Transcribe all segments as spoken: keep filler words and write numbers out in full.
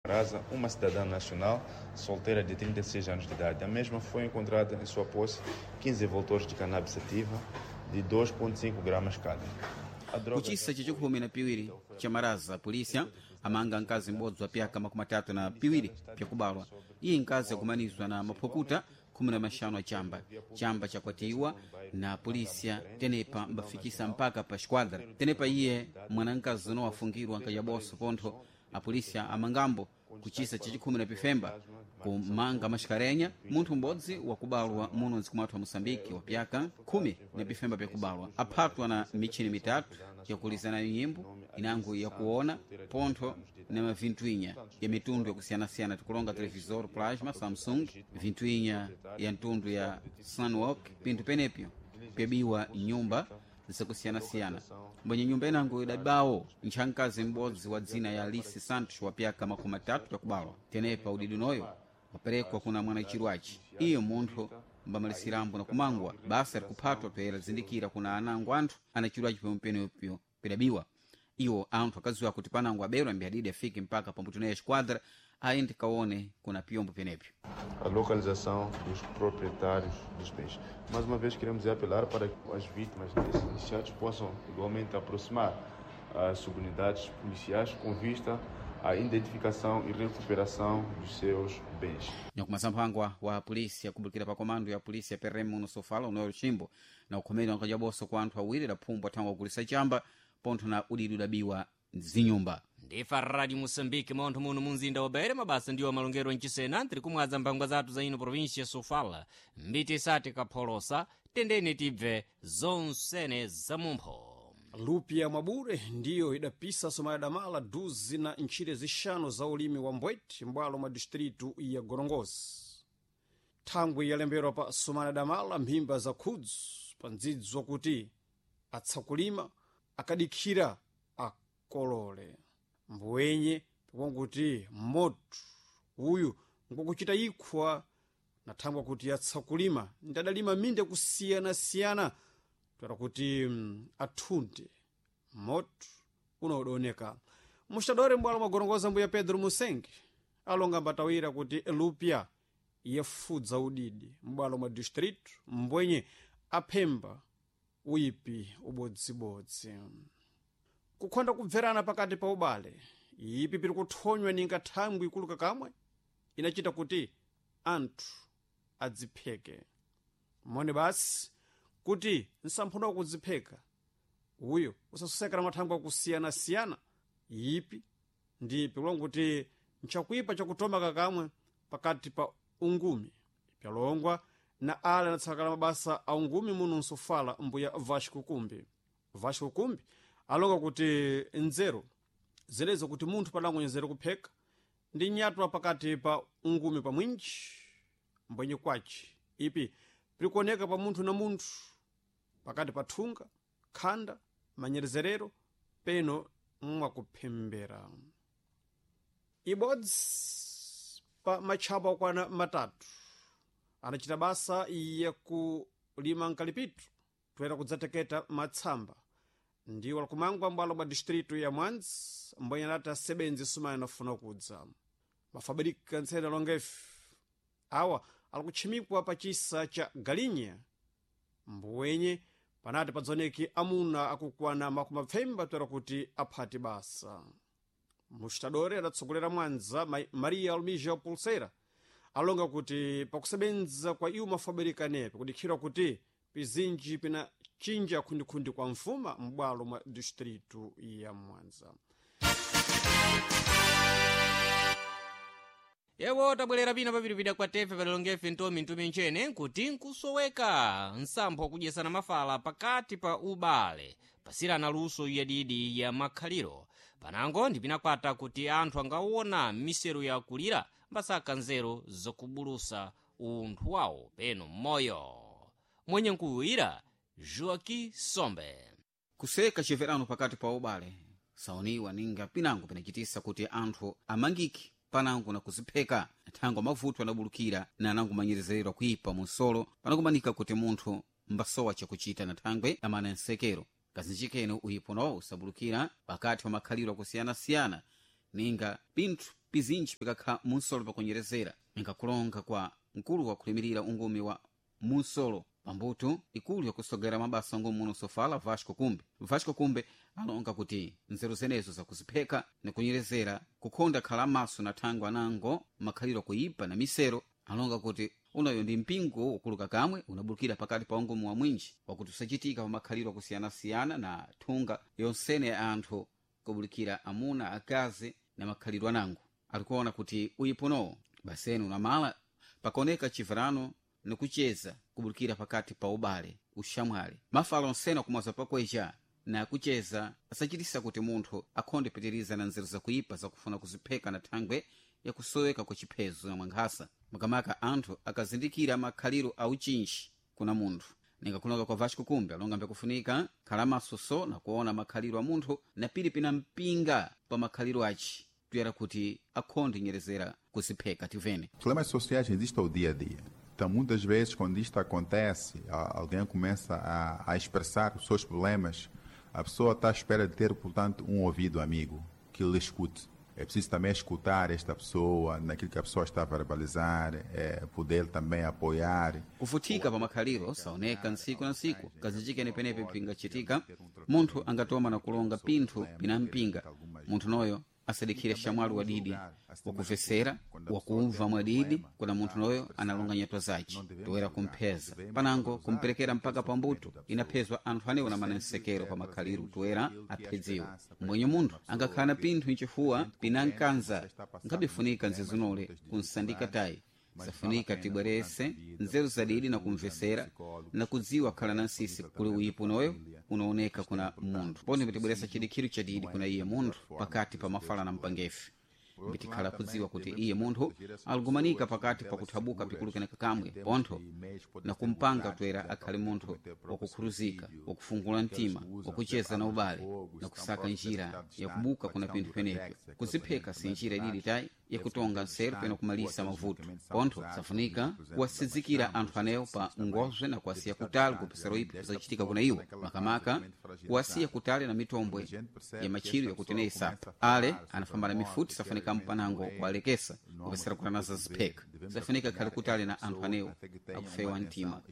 Rasa, uma cidadã nacional solteira de trinta e seis anos de idade. A mesma foi encontrada em sua posse quinze envoltórios de cannabis sativa de dois ponto cinco gramas cada. Kuchisa chachikhumi na piwiri cha maraza, polícia amanga mkazi m'bodzi wa pyaka makumi atatu na piwiri pyakubalwa. Iyi nkazi akumanizwa na maphukuta khumi na maxanu a chamba. Chamba chakwatiwa na polícia tenepa mbafikisa mpaka pa esquadra. Tenepa iye mwanamkazi uno wafungirwa nkajaboso pontho a polícia amangambo kuchisa chachikhumi na pifemba kumanga maxikarenha munthu m'bodzi wakubalwa muno mdziko mwathu wa Moçambique wa pyaka khumi na pifemba pyakubalwa aphatwa na michini mitatu yakulizana nyimbo inango yakuona pontho na mavintwinya ya mitundu yakusiyanasiyana tikulonga televisor plasma Samsung vintwinya ya mtundu ya Sunwalk pinthu penepyo pyabiwa nyumba zakusiyanasiyana. Mbwenye nyumba inango idabawo ntchankazi m'bodzi wa dzina ya Alice Santos wa pyaka makumi atatu yakubalwa. Tenepa udidi unoyo waperekwa kuna mwanachirwaci iyo munthu mbamalisirambo na kumangwa basa likuphatwa toyera zindikira kuna anango anthu anachirwaci pomwepenepyo pidabiwa. Iwo anthu akadziwa kuti panango aberwa mbiyadidi afike mpaka pambuto naye esquadra aende kaone kuna piyombo penepyo. A localização dos proprietários dos bens. Mais uma vez queremos apelar para que as vítimas desses iniciados possam igualmente aproximar as subunidades policiais com vista à identificação e recuperação dos seus bens. Nyakumasa mphangwa wa polícia kubulikira pa komando ya polícia P R M muno Sofala unoyo Chimbo na ukhomeri wankajaboso kwa anthu awiri adaphumbwa thangwa kugulisa chamba pontho na udidi udabiwa zinyumba. Ndifa Radio Moçambique montho muno munzinda wa Beira mabasa ndiwo malongero mchisena ntiri kumwadza mphangwa zathu za ino província Sofala mbiti isati kapholosa tendeni tibve zonsene za mumpho. Lupia Mwabure ndiyo idapisa somayadamala duzi na ntchire zixanu za ulimi wa mbweti mbwalo mwa distritu ya Gorongosi. Thangwi yalemberwa pa somayadamala mphimba za khudzu pa ndzidzi wakuti atsakulima akadikhira akolole. Mbwenye pakonkuti moto uyu ngwakuchita ikhwa na thangwi kuti atsakulima ndi adalima minda kusiyanasiyana toera kuti mm, athunde moto unaodaoneka. Muxitadore mbwalo mwagorongoza mbuya Pedro Musenge alonga mbatawira kuti lupya yafudza udidi mbwalo mwa distrito mbwenye aphemba uyipi ubodzibodzi. Kukhonda kubverana pakati pa ubale ipi piri kuthonywa ninga thangwi ikuluka kamwe inachita kuti anthu adzipheke mone basi kuti nsamphunda wakudzipheka uyo usasosekera mathangwi akusiyana-siyana ipi ndi ipi kulonga kuti nchakuipa chakutoma kakamwe pakati pa ungumi pyalongwa na ale anatsakala mabasa a ungumi muno nsofala mbuya Vasco Kumbi. Vasco Kumbi alonga kuti nzeru zilezo kuti munthu padangonyezera kupheka ndi nyatwa pakati pa ungumi pa mwinji mbwenye kwaci ipi pirikuoneka pa munthu na munthu pakati pa thunga khanda manyerezerero peno mwakuphembera. Ibodzi pa matchapa okwana matatu anachita basa yakulima nkalipito toera kudzateketa matsamba ndiwo lakumangwa mbwalo bwa distritu ya Mwanza mbwenye anati asebenzi sumaya anafuna kudza mafabrika ntsena longefe awa alikutchimikwa pa chisa cha Galinha mbwenye panati padzoneki amuna akukwana makumi apfemba toera kuti aphati basa. Muxitadore adatsogolera Mwanza Maria Almija Pulseira alonga kuti pakusebenza kwa iwo mafabrika nepe kudikhirwa kuti pizinji pinachinja khundikhundi kwa mfuma m'bwalo mwa distritu ya Mwanza. Yewo tabwerera pina papitipita kwa tefe padalongefe ntomi ntumi ntchene nkuti nkusoweka nsampho wakudyesana mafala pakati pa ubale pasirana luso yadidi ya makhaliro panango ndi pinakwata kuti anthu angawona miseru yakulira mbasaka nzeru zokubulusa unthu wawo peno mmoyo. Mwenye nkuwira Joaquim Sombe. Kuseka chiverano pakati pa ubale saoniwa ninga pinango pinachitisa kuti anthu amangike panango na kuzipheka thangwa mavuto anabulukira na anango manyerezererwa kuipa munsolo panakumanika kuti munthu mbasowa chakuchita na thangwe amana nsekero kazinji kene uyipo nawo usabulukira pakati pa makhaliro akusiyana-siyana Ninga pinthu pizinji pikakha munsolo pakunyerezera ingakulonga kwa mkulu wakulimirira ungumi wa munsolo pambuto ikulu yakusogera mabasa ngumi muno sofala Vasco Kumbe. Vasco Kumbe alonga kuti nzeru zenezo zakuzipheka nikunyerezera kukhonda khala maso na thangwe anango makhaliro kuipa na misero. Alonga kuti unayo ndi mpingo wokuluka kamwe unabulukira pakati pa ungumu wa mwinji wakuti usachitika pa makhaliro akusiyana-siyana na thunga yonsene ya anthu kubulikira amuna akazi na makhalidwe anango. Alikuona kuti uyiponowo baseni unamala pakoneka chivarano nikucheza kubulikira pakati pa ubale ushamwali mafala onsene akumwaza pakwecha na kucheza asachitisa kuti munthu akhonde pitiriza na nzeru zakuipa zakufuna kuzipheka na thangwe yakusoweka kwa chiphezo na mwankhasa makamaka anthu akazindikira makhaliro a uchinji kuna munthu. Ningakulonga kwa Vasco Kumbe alonga mbekufunika khala maso na kuona makhaliro a munthu na pili pina mpinga pa makhaliro aci tuyera kuti akhonde nyerezera kuzipheka tivene. Problemas sociais existem ao dia a dia. Então, muitas vezes, quando isto acontece, alguém começa a, a expressar os seus problemas, a pessoa está à espera de ter, portanto, um ouvido amigo que lhe escute. É preciso também escutar esta pessoa, naquilo que a pessoa está a verbalizar, é, poder também apoiar. Kufutika pa makhaliro saoneka ntsiku na ntsiku kazinjike penepe pingachitika munthu angatoma na kulonga pinthu pinampinga munthu noyo asadikhire shamwali wadidi wakuvesera wakumva mwadidi kuna munthu noyo analonga nyatwa zace toera kumpheza panango kumperekera mpaka pambuto inaphezwa anthu anewo na manensekero pa makhaliro toera aphedziwe. Mwenye munthu angakhala na pinthu mchifuwa pinankanza nkhabifunika nzezinole kunsandika tayi safunika tibwerese nzeru zadidi na kumvesera na kudziwa khala na nsisi kuli uyipo noyo unaoneka kuna munthu pone mbitibweresa chidikhiro chadidi kuna iye munthu pakati pa mafala na mpangefe mbitikhala kudziwa kuti iye munthu aligumanika pakati pa kuthabuka pikulukeneka kamwe pontho na kumpanga toera akhale munthu wakukhuruzika wakufungula mtima wakucheza na ubale na kusaka njira yakubuka kuna pinthu penepyo. Kuzipheka si njira ididi tayi yakutonga nseru pena kumalisa mavuto pontho safunika kuwasidzikira anthu anewo pa ngozwe na kuwasiya kutali kupesera ipo zachitika kuna iwo makamaka kuwasiya kutali na mitombwe ya machiro yakuti isapa ale anafamba na mifuti safunika mpanango kuwalekesa kupesera kuti anazazipheka safunika khale kutali na anthu anewo akufewa mtima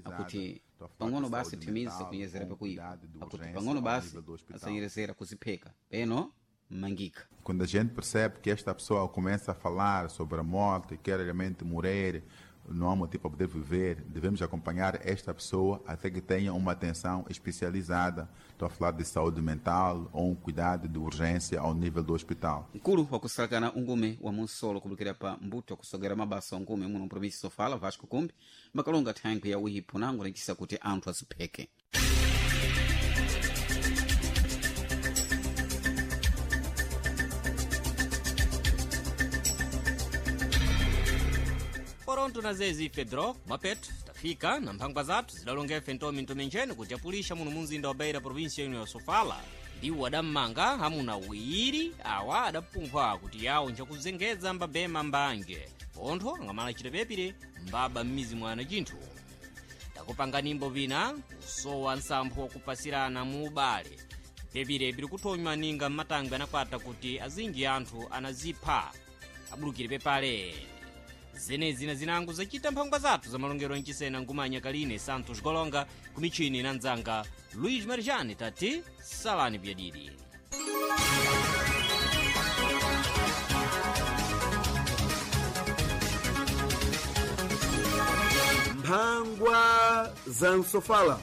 akuti pang'ono basi thimiza kunyezera pakuipa akuti pang'ono basi asanyerezera kuzipheka peno mangika. Quando a gente percebe que esta pessoa começa a falar sobre a morte, quer realmente morrer, não há motivo para poder viver, devemos acompanhar esta pessoa até que tenha uma atenção especializada. Estou a falar de saúde mental ou um cuidado de urgência ao nível do hospital. Mkulu wakusalakana ungume wa munsolo kubulikira pa mbuto wakusogera mabasa ungume muno mprovinsi sofala Vasco Kumbi makalonga thankwe ya uyipo nango lachisa kuti anthu azipheke. Poronto na zezi Fedro Mapet tafika na mphangwa zathu zidalongefe ntomi ntomi kuti apulisha muno munzinda wa Beira provinsia ino ya Sofala. Ndiwo adammanga amuna awiri awa adapumphwa kuti yawo njakuzengeza mbabema mbange pontho angamala chitepepire mbaba m'mizi mwana chinthu. Takupanga nimbo vina kusowa nsampho wakupasirana mu ubale pepire piri kuthonywa ninga mmatangwe anakwata kuti azinji anthu anazipha abulukire pepale. Zenezi na zinango zacita mphangwa zathu za malongero mchisena ngumanya kaline Santos Golonga kumichini na mdzanga Luiz Marjani tati salani pyadidi. Mphangwa za Nsofala.